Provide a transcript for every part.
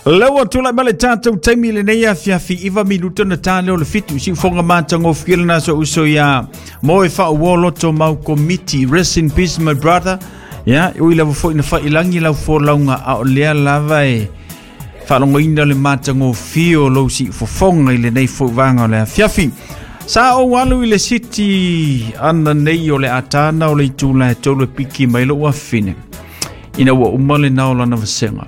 Lea ua tulai mai le tatou taimi i lenei afiafi 9 minuta na ta lea o le 7 siufoga matagofie lena so uso ia Moe Faauo Loto Mau Komiti. Rest in peace, my brother. Ia ui lava foi na faiilagi lau folauga, a o lea lava e faalogoina le matagofie o lou siufofoga i lenei foi vaega o le afiafi. Sa ou alu i le siti ana nei o le atana o le itula e 3 e piki mai lou afine ina ua uma lena o lana vasega.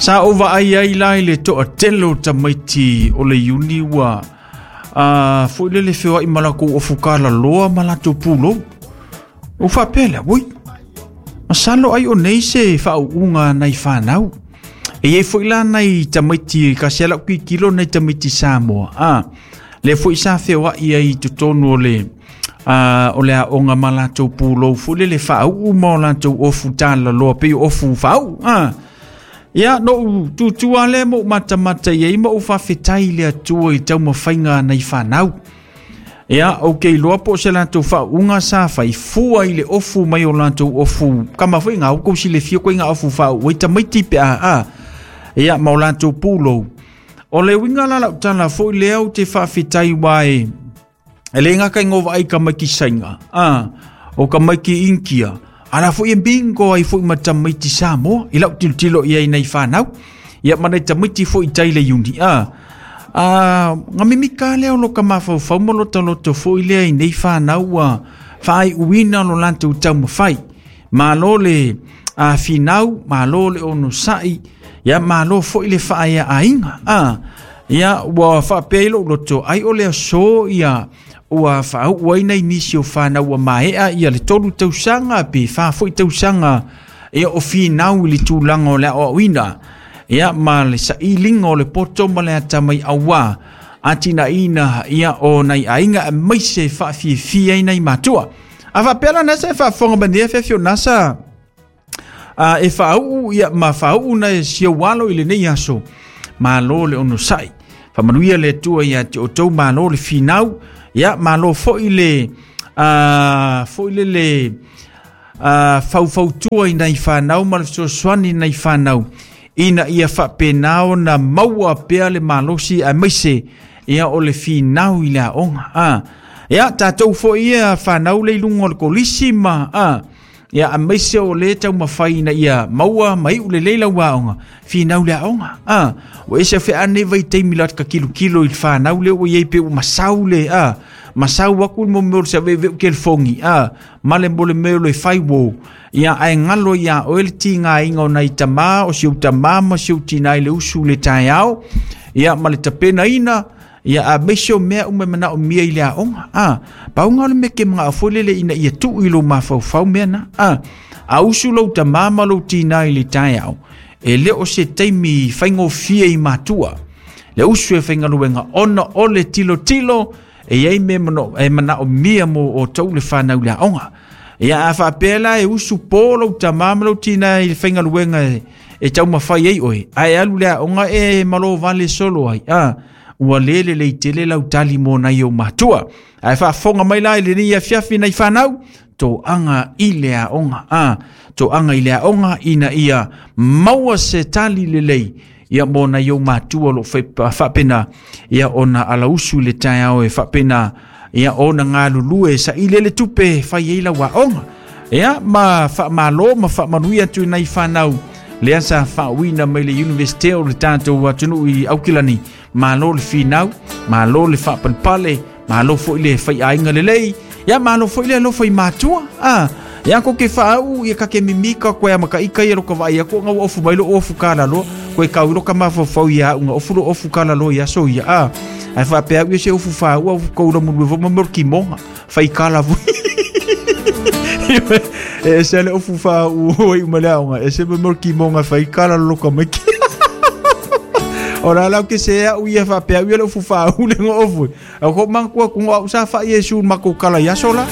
Sa ou vaai ai la i le toatele o tamaiti o le Iuni ua foi lele feoai ma latou ofu kalaloa ma latou pulou. Ua faapea lea, ui, masalo ai o nei se faauuga nai fanau. E iai foi la nai tamaiti kasi ala tilotilo nai tamaiti Samoa. Le foi sa feoai ai i totonu o le o le aoga ma latou pulou foi lele faauu ma o latou ofu talaloa pei o ofu faauu. Ia, no u tutua le mo matamata i ai ma u faafetai i le Atua i taumafaiga a nai fanau. Ia, ou te iloa po o se latou faauuga sa fai fua i le ofu mai o latou ofu. Kama foi ngā ukou silefia koe ngā ofu faau'u ai tamaiti pe a a. Ia, ma o latou pulou. O le uiga la lau tala foi lea ou te faafetai uā e e le gata i ngovaai ka maiki Saina, o ka maiki Inkia, ala foi e bingo ai foi ma tamaiti Samoa, i lau tilotilo i ai nei whanau. Ia ma nei tamaiti foi i tai le Iuni, nga mimika lea o lo ka mafaufau ma lo taloto foi lea i nei whanau ua whaaiuina lo latou taumafai. Malo le finau, malo le onosai, ia malo foi le faaeaaiga. Ia ua faapea i lou loto, ai o le aso ia ua faauu ai nai nisi o fanau ua maea ia le 3 tausaga pe 4 foi tausaga ia o finau i le tulaga o le aoaoina. Ia ma le sailiga o le poto ma le atamai auā atinaeina ia o nai aiga aemaise faafiafia ai nai matua. A faapea la nasa e faafofoga mai nei afiafi o nasa e faauu ia ma faauu na e siau alo i lenei aso. Malo le onosai. Faamanuia le Atua ia te outou, malo le finau. Ia malo foi le foi le le faufautua i nai fanau ma le fesoasoani i nai fanau ina ia faapena ona maua pea le malosi aemaise ia o le finau i le aoga. Ia tatou foi ia fanau le i luga o le kolisi ma ia aemaise o le taumafai ina ia maua ma iu lelei lau aoga, finau le aoga. Ua ese feane vaitaimi la ka kilokilo i le fanau le ua iai pe ua masau le masau aku le mo mea o le saveaveu kelifogi ma le mo le mea o le fai wo. Ia ae galo ia oe le tigaina o nai tamā o si ou tamā ma si ou tinā i le usu i le taeao ia ma le tapenaina ia aemaise o mea uma e manaomia i le aoga. Pauga o le mea ke manao foi lele ina ia tuu i lou mafaufau mea na. A usu lou tamā ma lou tinā i le taeao, e le o se taimi faigofie i matua le usu e faigaluega ona o le tilotilo e iai mea e manaomia mo outou le fanau i le aoga. Ia a faapea la e usu po lou tamā ma lou tinā i le faigaluega e taumafai ai oe, ae alu le aoga e malo vale solo ai. Ua le lelei tele lau tali mo nai ou matua. Ae faafofoga mai la i lenei afiafi nai fanau, toaga i le aoga. Toaga i le aoga ina ia maua se tali lelei ia mo nai ou matua o loo faapena ia ona alausu i le taeao e faapena ia ona galulue saili le tupe fai ai lau aoga. Ia ma faamalo ma faamanuia atu i nai fanau lea sa faauuina mai le Universite o le tatou atunuu i Aukilani. Malo le finau, malo le faapalepale, malo foi le faiaiga lelei, ia malo foi le alofa i matua. Ia ko ke faau ia ka ke mimika koe a makaika ia lo ka vaai aku nga ua ofu mai lo ofu kalaloa koe kau i lo ka mafaufau ia au nga ofu lo ofu kalaloa ia so ia ai faapea au ia se ofu faau au kou la mulu fo ma mo kimonga fai kala foi e se le ofu faau oi uma le aoga e se mo kimonga fai kala lo ka mai. O la lau ke se au ia faapea au ia le ofu faau le ngo ofu. Au ko mangkua ku au sa fa Yesu ma ko kala ia sola.